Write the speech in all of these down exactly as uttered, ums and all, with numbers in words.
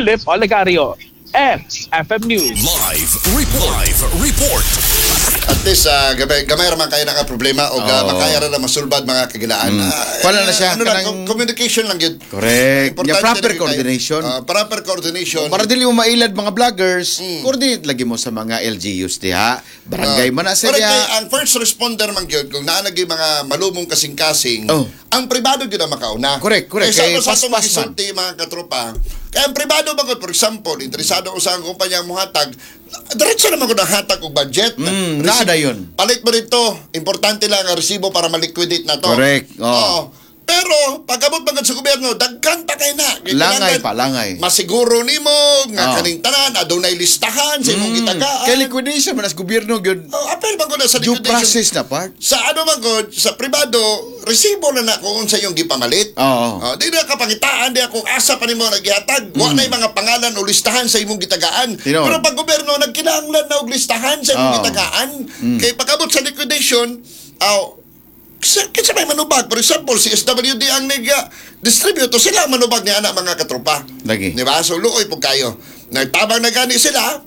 Philip Olegario, X F M News. Live Report. Live Report. At least, uh, gamay, gamay raman kayo naka problema o uh, Oo. makaya ra na masulbad, mga kagilaan. Mm. Ah, Wala na siya, ano lang, kanang- communication lang yun. Correct. Importante Yeah, proper na yun kayo. coordination. Ah, proper coordination. Para dili mo mailad mga vloggers, Mm. coordinate lagi mo sa mga L G Us diha. Barangay man na Correct, kay sila. ang first responder man gyud, kung naa gyud mga malumong kasing-kasing, Oh. ang pribado gyud ang makauna. Correct, correct. Kay Kay sa sa atong paspas man. magisulti, mga katropa, kay ang pribado man gud, for example, interesado ko sa ang kumpanya mohatag, diretso naman ko hatag og budget. Mm, Resi- naa dayon. Palit mo dito, importante lang ang resibo para maliquidate na to. Correct, oh. Oo. Pero pagabot man gud sa gobyerno, daghan pa kay na. Kay Langay kinahanglan pa, langay. masiguro nimo nga Oh. kaning tanan adunay listahan sa imong gitagaan. Kay liquidation man as gobyerno gyud. Oh, apel man gud na sa Due liquidation. process na part. Sa ano man gud, sa pribado, resibo na na kung unsa yung gipamalit. Oo. Oh, di na kapangitaan, di ako asa pa nimo naggihatag. Wa na'y mga pangalan o listahan sa imong gitagaan. Mm. Tinuod. Pero pag gobyerno, nagkinahanglan na og listahan sa imong Oo. Mm. gitagaan. Kay pag-abot sa liquidation, aw kinsa kinsa may manubag? For example, si S W D ang nag distribute, sila ang manubag ni ana, mga katropa. Lagi. Di ba? So luoy po kayo. Nagtabang na gani sila,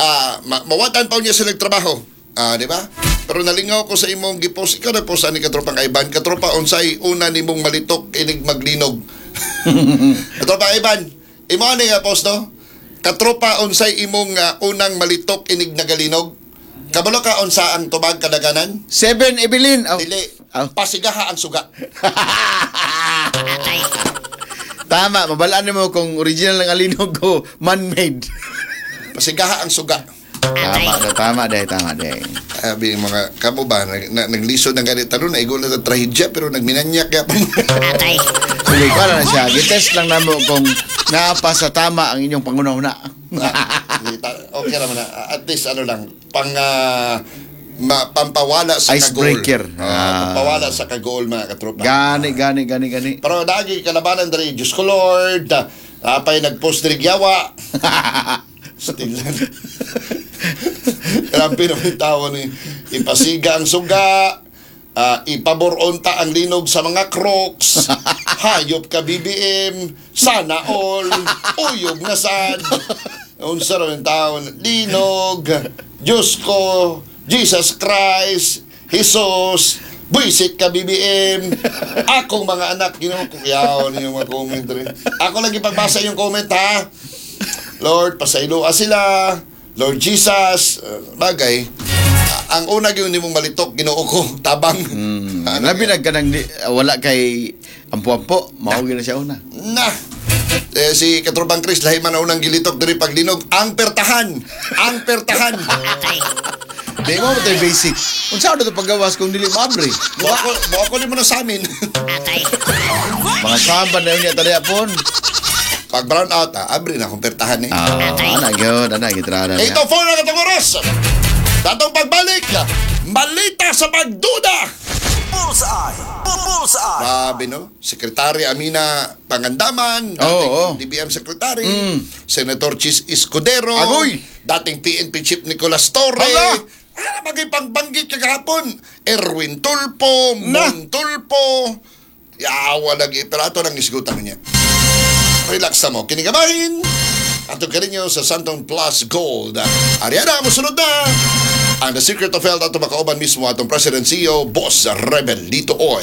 ah ma mawatan pa niya sila trabaho. Ah, di ba? Pero nalingaw ko sa imong gipost, ikaw na post ani, katropang Ivan. Katropa, unsay una nimong malitok inig maglinog? Katropa Ivan, imo ani nga post, no? Katropa, unsay imong ah, unang malitok inig nagalinog? Kabalo ka unsa ang tubag kadaganan? Seven Evelyn. Oh. Dili. Oh. Pasigaha ang suga. Tama, mabalaan mo kung original ng alinog ko, man-made. Pasigaha ang suga. Tama, na, tama day, tama day. Sabi ng mga kamo ba, nag, na, naglisod ng ganit tanong, naigo na sa trahedya, pero nagminanyak kaya pa. Sige, wala na siya. Gitest lang namo kung naapa sa tama ang inyong pangunahuna. Okay naman na. At least ano lang, pang ah, ma, pampawala sa Icebreaker. kagol. Ah, Ah. pampawala sa kagol, mga katropa. Gani, gani, gani, gani. Pero lagi kalabanan diri, Diyos ko Lord, apay nagpost diri gyawa. Still. Grabe naman yung tao ni. Ipasiga ang suga, ah, ipaboronta ang linog sa mga Crocs, hayop ka B B M, sana all, uyog na sad. Unsa raw yung tao, linog, Diyos ko, Jesus Christ, Jesus, buisit ka B B M, akong mga anak, Ginoo ko, yaw yung mga comment rin. Ako lagi pagbasa yung comment ha. Lord, pasayloa sila. Lord Jesus, uh, bagay. Ah, ang una gyud nimong malitok, Ginoo ko, tabang. Mm, Ano labi na kanang di, wala kay ampo-ampo, mao gyud na siya una. Na. Eh, si Katropang Chris, lahi man ang unang gilitok diri paglinog. Ang pertahan! Ang pertahan! Di mo mo basic. Unsa to paggawas kung dili maabre? Buha ko, buha ko mo na sa amin. Mga samba na yun niya taliya pon. Pag brown out, ah, abre na akong pertahan eh. Ah, ana gyud, ana gyud na. Ito four na katong oras. Datong pagbalik, malita sa pagduda! Bullseye! Bullseye! Grabe, no? Secretary Amina Pangandaman, dating Oo, oo. D B M Secretary, Mm. Senator Chis Escudero, Agoy! dating P N P Chief Nicolas Torre, Hala! ano bagay pangbanggit kagahapon? Erwin Tulfo, Na! Mon Tulfo, yawa lagi. Pero ato nang isgutan niya. Relax na mo. Kinigamahin! Ato ka ninyo sa Santong Plus Gold. Ariana, musunod na! Ang The Secret of Health ato makauban mismo atong President C E O, Boss Rebel Lito Oy.